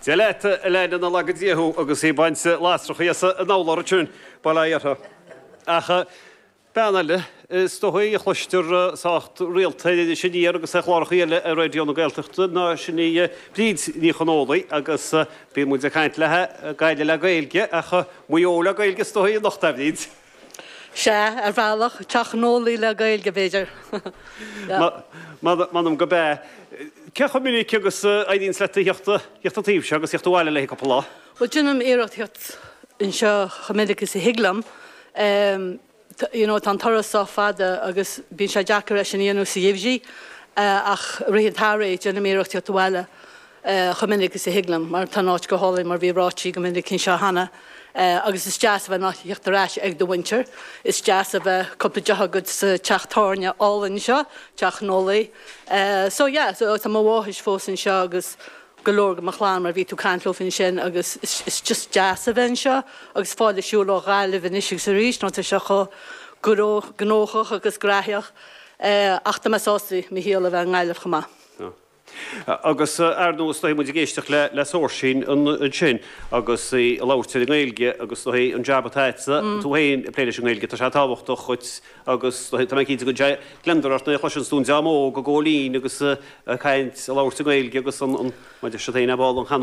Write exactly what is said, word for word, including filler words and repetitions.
Dia leat Elaine na laga díú agus í baint lasracha as an urlár sin bail ó Dhia orthu. Ach bean eile is dóigh a chloistear sách rialta sin iar agus é chláracha eile ar Raidió na Gaeltachta ná sin í Bríd Ní Chonólaigh agus bíonn muid ag caint léi Gaillimh le Gaeilge ach Maigh Eo le Gaeilge is dóigh anocht a Bhríd. Sea ar bhealach teach nólaí le Gaeilge b'fhéidir. M'anam go bé. Ce chomh minic agus éiríonn leat theacht an taobh seo agus theacht abhaile le cúpla lá? Well déanaim iarracht theacht anseo chomh minic is a thig liom. Um, you know, tá an turas sách fada agus bíonn sé deacair sin a dhéanamh sa gheimhreadh uh, ach rith an tsamhraidh déanaim iarracht theacht abhaile uh, chomh minic is a thig liom, mar tá áit go hálainn mar bhí ráite go minic anseo cheana. Uh, agus is deas a bheith nach theacht ar ais ag do mhuintir. Is deas a bheith cúpla deoch agat sa teach tábhairne álainn seo, teach Nólaí. Uh, so yeah, so tá mo mháthair fós anseo agus go leor de mo chlann mar bhí tú caint leo sin agus is, is just deas a bheith anseo agus fáil siúl ó Ghaillimh anois agus arís nó tá sé chomh gnóthach agus graitheach uh, ach tá mé sásta mo shaol a bheith i nGaillimh chomh maith. Agus ar nós tá muid ag éisteacht le le Saoirsín ansin agus í labhairt i nGaeilge agus tá an jab atá tú féin ag plé leis an nGaeilge tá sé tábhachtach chuit agus tá mé cinnte go gliondar ort nuair a chloiseann tú an dream óg go góilín agus caint labhairt i nGaeilge agus an maidir se féin ball an chanúint.